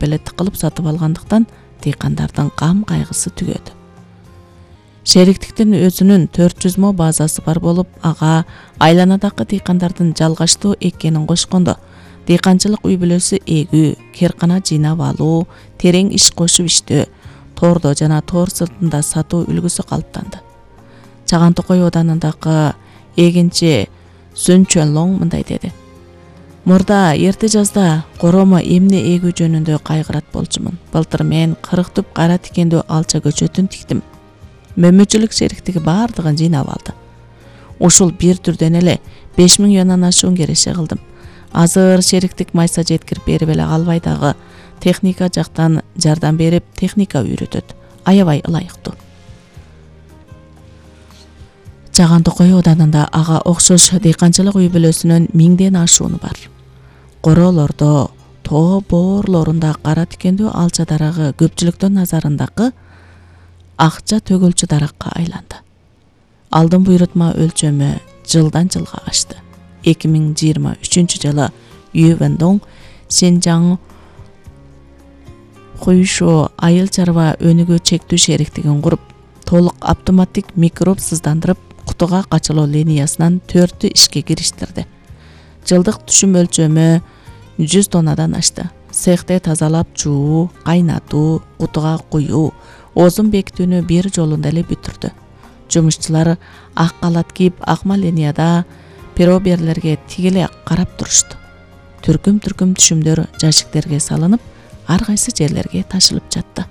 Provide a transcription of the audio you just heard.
эле тыкылып сатып алгандыктан дыйкандардын кам кайгысы түгөдү. Шериктиктин өзүнүн 400 мо базасы бар болуп, ага айланадагы дыйкандардын жалгаштуу эккенин кошкондо, дыйканчылык үй бүлөсү эгүү, керкана жыйнап алуу, терең иш кошуп иштөө, тоордо жана тоор сыртында сатуу үлгүсү калыптанды. Чаган Токой Оданындагы эгинчи Сүн Чөнлоң мындай деди: Мурда эрте жазда коромо эмне эгүү жөнүндө кайгырат болчумун. Былтыр мен 40 түп кара тикендүү алча көчөтүн тиктим. Мөмөчүлүк шериктиги бардыгын жыйнап алды. Ушул бир түрдөн эле 5000 юандан ашуун кереше кылдым. Азыр шериктик майса жеткирип берип эле калбай дагы техника жактан жардам берип, техника үйрөтөт. Аябай ылайыктуу. Чаган Токой Оданында ага окшош дыйканчылык үй бүлөсүнөн 1000ден ашууну бар. Короолордо, тоо боорлорунда кара тикендүү алча дарагы көпчүлүктүн назарындагы акча төгүлчү даракка айланды. Алдын буйрутма өлчөмү жылдан жылга ашты. 2023 жылы Ювендон Синжаң Хуйшо айыл чарба өнүгүү чектүү шериктигин куруп, толук автоматтик микроб сыздандырып, кутуга качылуу линиясынан 4 ишке кириштирди. Жылдык түшүм өлчөмү 100 тоннадан ашты. Цехте тазалап жуу, кайнатуу, кутуга куюу, озун бекитүүнү бир жолунда эле бүтүрдү. Жумушчулар ак калат кийип, акма линияда пироберлерге тигиле карап турушту. Түркүм түшүмдөр жашиктерге салынып, ар кайсы жерлерге ташылып жатты.